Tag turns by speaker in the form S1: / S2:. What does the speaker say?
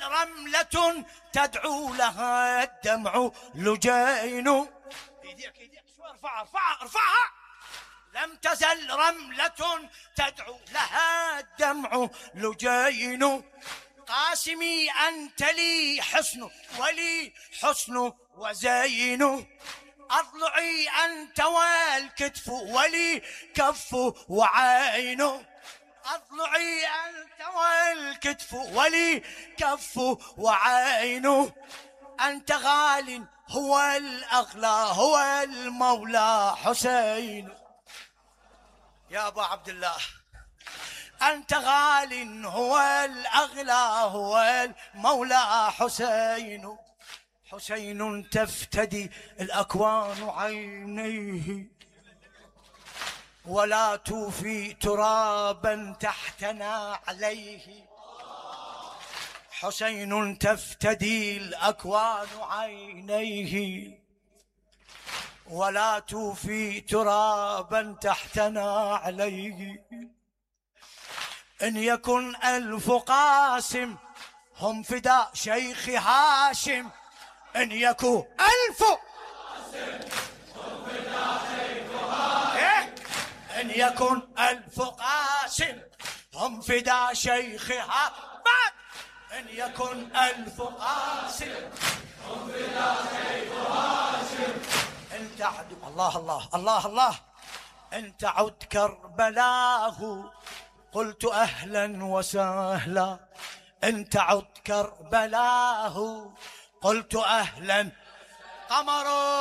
S1: رملة تدعو لها الدمع لجين. ايديك شوي ارفعها. لم تزل رملة تدعو لها الدمع لجين. قاسمي أنت لي حسن ولي حسن وزين. أضلعي أنت والكتف ولي كف وعين. أضلعي أنت والكتف ولي كف وعين. أنت غال هو الأغلى هو المولى حسين. يا أبا عبد الله أنت غال هو الأغلى هو المولى حسين. حسين تفتدي الأكوان عينيه ولا توفي ترابا تحتنا عليه. حسين تفتدي الأكوان عينيه ولا توفي ترابا تحتنا عليه. إن يكن ألف قاسم هم فداء شيخ هاشم. إن يكن ألف قاسم هم فداء شيخ هاشم. إن يكن ألف قاسم هم فداء شيخ هاشم. إن يكن ألف قاسم هم فداء شيخ هاشم. إن تعد الله الله الله الله. إن تعد كربلاه قلت أهلا وسهلا. إن تعد كربلاه قلت أهلا. قمر